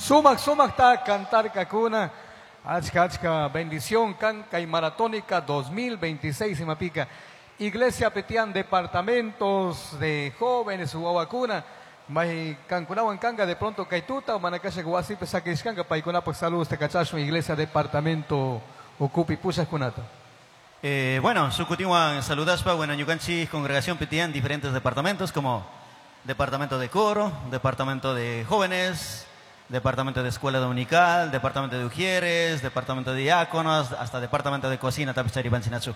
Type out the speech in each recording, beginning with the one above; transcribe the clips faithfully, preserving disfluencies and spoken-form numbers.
Sumak sumakta cantarkakuna. Achka achka bendición kan kay maratónica dos mil veintiséis imapika. Iglesia petian departamentos de jóvenes wawakuna. May kankunawan kanga de pronto kaytuta o manakasha wasipi sakishkanka paykunapaq saludos te kachashun iglesia departamento ukupi pushaqkunata. Eh, bueno, sukutiwan saludaspa, bueno, ñukanchik congregación petian diferentes departamentos como departamento de coro, departamento de jóvenes, departamento de escuela dominical, departamento de ujieres, departamento de diáconos, hasta departamento de cocina, tapichari banchinachu.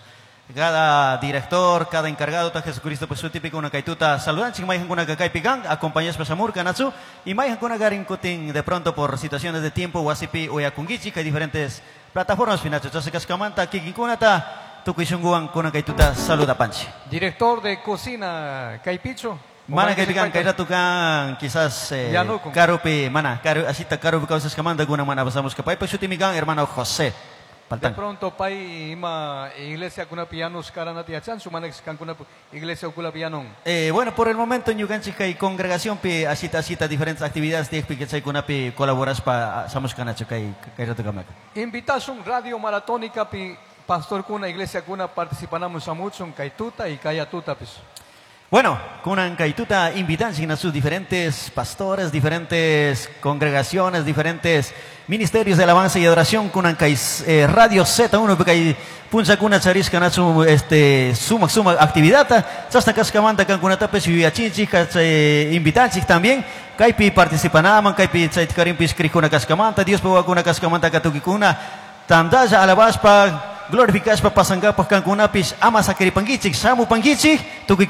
Cada director, cada encargado, ta Jesucristo, pues su típico una kaituta saludan, ching mayhan kuna kakaypi kan, acompañaspa shamurka natsu, y mayhan kuna garin kutin de pronto por situaciones de tiempo, wasipi uyakunkichik, hay diferentes plataformas finachu. Entonces, kaskamanta, kikinkunata, tukuy shunguwan kuna kaituta saluda panchi. Director de cocina, Kaypichu. Mana kaypi kan, kay rato kan, quizás, eh, Yanucun. karupi, mana, karu, asita karupi kawsaskamanta kuna mana pasamos ka paypa shutimi kan, hermano José. De Paltán. pronto pay ima iglesia kunapi yanus karanati yachanchu, mana kankunapi iglesia ukunapi yanun. Eh, bueno, por el momento ñukanchik kay congregación pi asita asita diferentes actividades tiyakpi chaykunapi colaboraspa shamushkanachu kay, kay rato kamaka. Invitación radio maratónica pi pastor kuna iglesia kuna participanamos shamuchun kay tuta y kay atuta pis. Bueno, kunan kaytuta invitan a sus diferentes pastores, diferentes congregaciones, diferentes ministerios de alabanza y adoración. Kunan kay, eh, Radio Z uno kay puncha kuna charishka nachu, este, suma, suma actividad. Chasna kaskamanta kankunatapis yuyachinchik, eh, invitanchik también. Kaypi participanaman, kaypi chaytikarinpis krikuna kaskamanta, Dios pawakuna kaskamanta katukikuna. Tandalla alabaspa, glorificaspa pasangapaj kankunapis ama sakiripankichik, shamupankichik, tukuy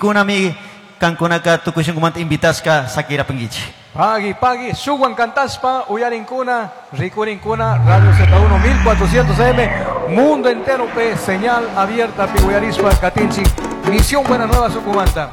kankunaka tukuy shunkumanta invitaska sakirapankichik. Pagui, pagui, suwan cantaspa, uyarinkuna, rikurinkuna, Radio Z uno mil cuatrocientos A M, mundo entero, pe, señal abierta, pi, uyarispa, katinchik, Misión Buena Nueva, Sucumanta.